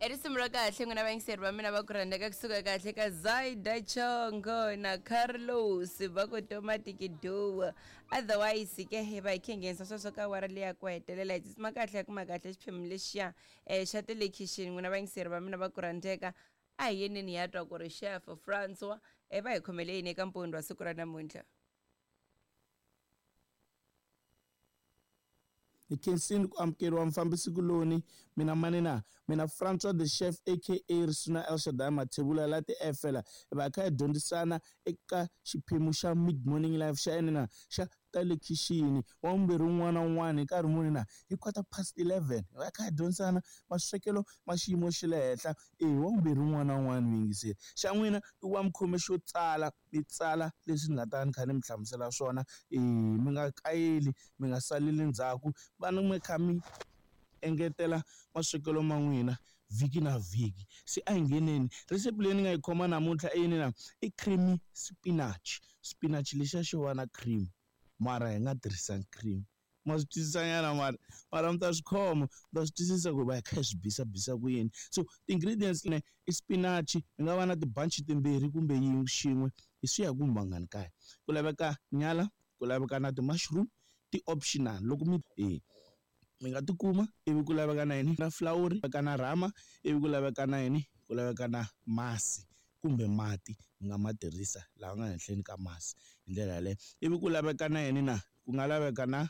I risimu ra kahle n'wina vayingiseri va mina va ku rhandzeka kusuka kahle ka Zaida Chongo na Carlos va ku Tomatiki Duo. Otherwise ke hi va hi khe nghenisa sweswo ka awara leya ku hetelela hi tsutsuma kahle ya kuma kahle xiphemu lexiya xa ta le khixini n'wina vayingiseri va mina va ku rhandzeka a hi yeneni hi ya twa ku ri chef Francois va hi khomele yini eka mpundzu wa siku ra namuntlha. Hi khensile ku amukeriwa mufambisi-kuloni mina mani na mina Francois the Chef aka Risuna El Shaddai Mathebula la ti-efela hi va hi kha hi dyondzisana eka xiphemu xa Mid Morning Live xa yena na xa ta le khixini wa vumbirhi wun'wana na wun'wana hi nkarhi muni na hi quarter past 11 hi va hi kha hi dyondzisana maswekelo ma xiyimo xa le henhla e wa vumbirhi wun'wana na wun'wana muyingiseri xa n'wina i ku va mi khome xo tsala mi tsala leswi ni nga ta ni kha ni mi hlamusela swona e mi nga kayeli mi nga saleli ndzhaku va ni mi kha mi engetela maswekelo ma n'wina vhiki na vhiki se a hi ngheneni recipe leyi ni nga yi khoma namuntlha i yini na i creamy spinach spinach lexiya xo va na cream mara hi nga tirhisanga cream ma swi twisisa nyana mara mara mi ta swi khoma mi ta swi twisisa ku va hi kha hi swi bisa bisa ku yini so ti-ingredients ne i spinach yi nga va na tibanchi timbirhi kumbe yin'we xin'we hi swi ya hi ku mangani kaya ku laveka nyala ku laveka na ti-mushroom ti-optional loko mi e mi nga tikuma ivi ku laveka na yini na flawuri laveka na rhama ivi ku laveka na yini ku laveka na masi kumbe mati mi nga ma tirhisa laha nga henhleni ka masi hi ndlela yaleyo ivi ku laveka na yini na ku nga laveka na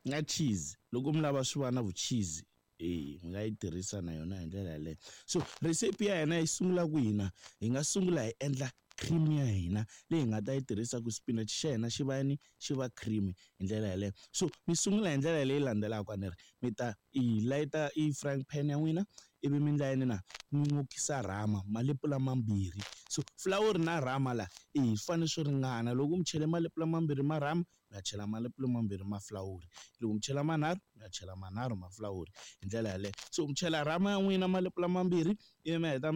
na cheese loko mi lava swi va na vu-cheese e mi nga yi tirhisa na yona hi ndlela yaleyo so recipe ya hina yi sungula kwihi na hi nga sungula hi endla cream ya hina leyi hi nga ta yi tirhisa ku spinach xa hina xi va yini xi va creamy hi ndlela yaleyo so mi sungula hi ndlela leyi landzelaka ni ri mi ta i layita i frying pan ya n'wina ivi mi endla yini na mi n'okisa rhama malepula mambirhi so flawuri na rhama la e swi fanele swi ringana loko mi chele malepula mambirhi ma rhama mi ya chela malepula mambirhi ma flawuri loko mi chela manharhu mi ya chela manharhu ma flawuri hi ndlela yaleyo so mi chela rhama ya n'wina malepula mambirhi ivi mi heta.